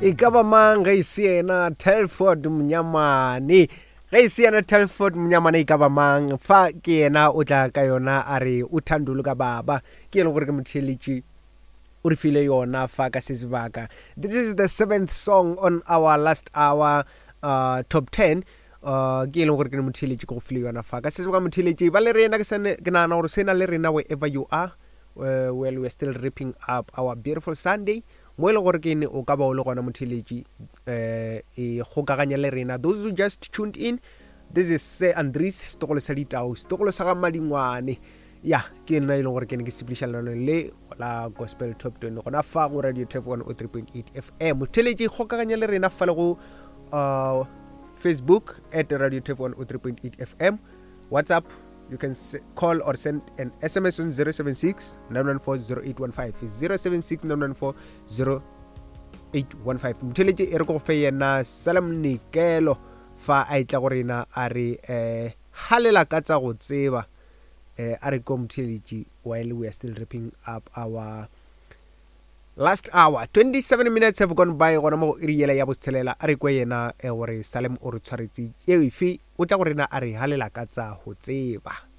E ka ba mang ge e se yena Telford Mnyamane? Ge e se yena Telford Mnyamane e ka ba mang? Fa ke yena o tla ka yona a re o thandolo ka baba. Ke e leng gore ke motheeletši o re file yona fa ka se sebaka. This is the seventh song on our last hour uh, top 10. Uh, ke e leng gore ke ne motheeletši ke go file yona fa ka se sebaka motheeletši ba le rena ke sane ke nagana gore se na le rena wherever you are uh, well we are still ripping up our beautiful Sunday mo e leng gore ke ne o ka ba o le gona motheeletši um e kgokaganya le rena those who just tuned in this is se andries setogolo sa ditau setogolo sa ga madingwane ya ke nna e leng gore ke ne ke sepediša lenaneo le la gospel top 20 gona fa go radio tap 103.8 fm motheeletši kgokaganya le rena fa le go uh, facebook at radio tap 103.8 fm whatsapp you can call or send an sms on 076 914 0815 076 914 0815 motheletše e re ko go fe yena salam nikelo fa a etla go rena a re um halela ka tsa go tseba um a re ko motheletše while we are still wrapping up our last hour 27 minutes have gone by gona mo go iri yela ya botshelela a re kwe yena eh, gore salem o re tshwaretse efe o tla go rena a re halela ka tsa go tseba.